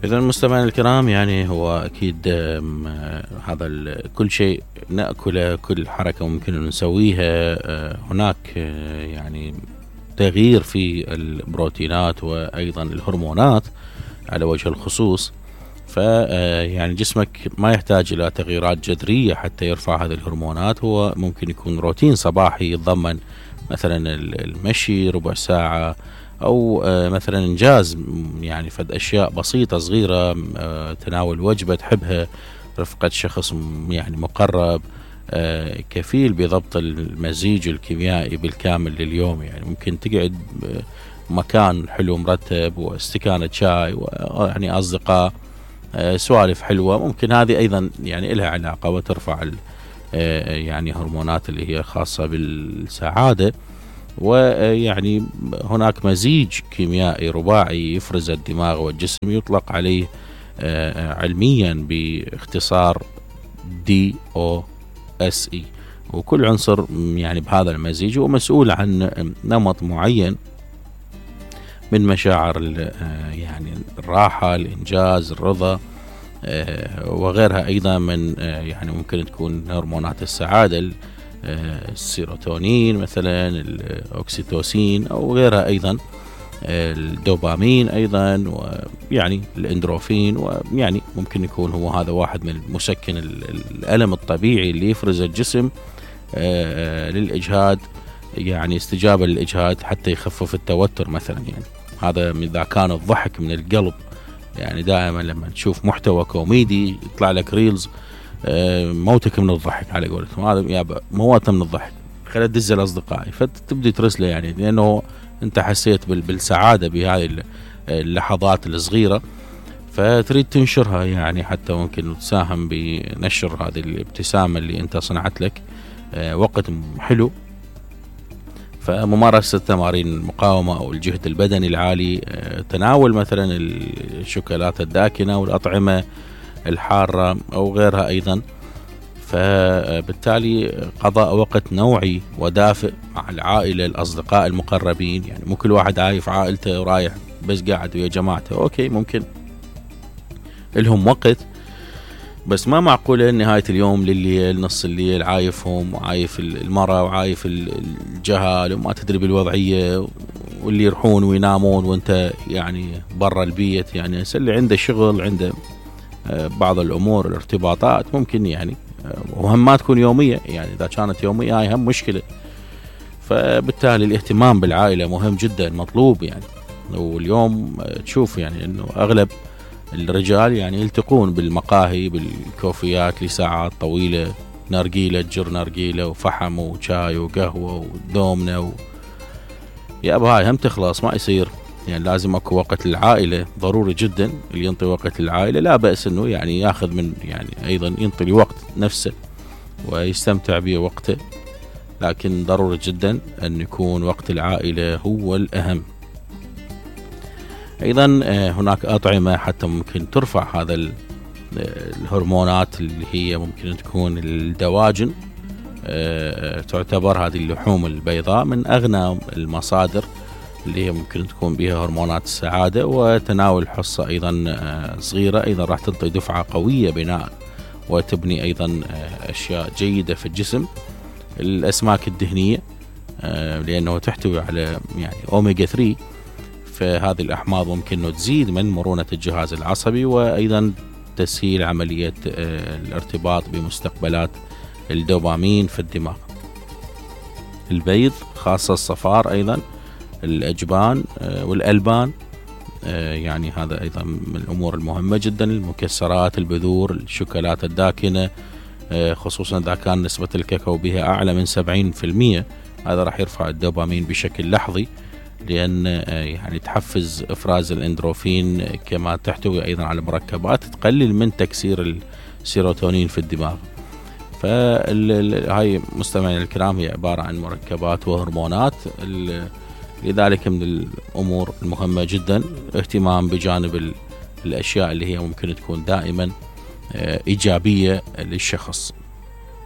إذا مستمعينا الكرام، يعني هو أكيد هذا كل شيء نأكله، كل حركة ممكن نسويها هناك يعني تغيير في البروتينات وأيضا الهرمونات على وجه الخصوص. يعني جسمك ما يحتاج إلى تغييرات جذرية حتى يرفع هذه الهرمونات. هو ممكن يكون روتين صباحي يتضمن مثلا المشي ربع ساعة، أو مثلا إنجاز يعني فد أشياء بسيطة صغيرة، تناول وجبة تحبها، رفقة شخص يعني مقرب، كفيل بضبط المزيج الكيميائي بالكامل لليوم. يعني ممكن تقعد مكان حلو مرتب واستكانة شاي ويعني أصدقاء، سوالف حلوة، ممكن هذه أيضا يعني لها علاقة وترفع يعني هرمونات اللي هي خاصة بالسعادة. ويعني هناك مزيج كيميائي رباعي يفرز الدماغ والجسم، يطلق عليه علميا باختصار DOSE، وكل عنصر يعني بهذا المزيج هو مسؤول عن نمط معين من مشاعر يعني الراحة، الإنجاز، الرضا، وغيرها أيضا من يعني ممكن تكون هرمونات السعادة، السيروتونين مثلا، الأوكسيتوسين، أو غيرها أيضا، الدوبامين أيضا، ويعني الإندروفين. ويعني ممكن يكون هو هذا واحد من مسكن الألم الطبيعي اللي يفرز الجسم للإجهاد، يعني استجابة للإجهاد حتى يخفف التوتر مثلا. يعني هذا إذا كان الضحك من القلب، يعني دائما لما تشوف محتوى كوميدي يطلع لك ريلز موتك من الضحك على قولتهم، هذا يابا موت من الضحك، خلينا تدز لأصدقائي، فتبدي ترسله يعني لأنه أنت حسيت بالسعادة بهذه اللحظات الصغيرة، فتريد تنشرها يعني حتى ممكن تساهم بنشر هذه الابتسامة اللي أنت صنعت لك وقت حلو. فممارسة تمارين المقاومة أو الجهد البدني العالي، تناول مثلا الشوكولاتة الداكنة والأطعمة الحارة أو غيرها أيضا. فبالتالي قضاء وقت نوعي ودافئ مع العائلة، الأصدقاء المقربين، يعني مو كل واحد عايف عائلته ورايح بس قاعد ويا جماعته، أوكي ممكن لهم وقت، بس ما معقولة نهاية اليوم لليل نص الليل عايفهم، وعايف المرأة وعايف الجهال وما تدري بالوضعية، واللي يروحون وينامون وانت يعني برا البيت. يعني اللي عنده شغل، عنده بعض الأمور الارتباطات، ممكن يعني وهم ما تكون يومية، يعني إذا كانت يومية هاي هم مشكلة. فبالتالي الاهتمام بالعائلة مهم جدا، مطلوب يعني. واليوم تشوف يعني انه اغلب الرجال يعني يلتقون بالمقاهي بالكوفيات لساعات طويلة، نارجيلة تجر نارجيلة وفحم وشاي وقهوة ودومنة يا أبا هاي هم تخلص، ما يصير. يعني لازم اكو وقت للعائلة، ضروري جدا اللي ينطي وقت للعائلة، لا بأس انه يعني ياخذ من يعني ايضا ينطي الوقت نفسه ويستمتع بوقته، لكن ضروري جدا ان يكون وقت العائلة هو الأهم. ايضا هناك اطعمة حتى ممكن ترفع هذا الهرمونات، اللي هي ممكن تكون الدواجن. تعتبر هذه اللحوم البيضاء من اغنى المصادر اللي هي ممكن تكون بها هرمونات السعادة، وتناول حصة ايضا صغيرة ايضا راح تنطي دفعة قوية بناء وتبني ايضا اشياء جيدة في الجسم. الاسماك الدهنية لانه تحتوي على يعني اوميجا 3، فهذه الأحماض ممكن أن تزيد من مرونة الجهاز العصبي، وأيضا تسهيل عملية الارتباط بمستقبلات الدوبامين في الدماغ. البيض خاصة الصفار، أيضا الأجبان والألبان، يعني هذا أيضا من الأمور المهمة جدا. المكسرات، البذور، الشوكولاتة الداكنة، خصوصا إذا كان نسبة الكاكاو بها أعلى من 70%، هذا راح يرفع الدوبامين بشكل لحظي، لأن يعني تحفز إفراز الإندروفين، كما تحتوي أيضا على مركبات تقلل من تكسير السيروتونين في الدماغ. فهاي مستمعينا الكرام هي عبارة عن مركبات وهرمونات، لذلك من الأمور المهمة جدا اهتمام بجانب الأشياء اللي هي ممكن تكون دائما إيجابية للشخص.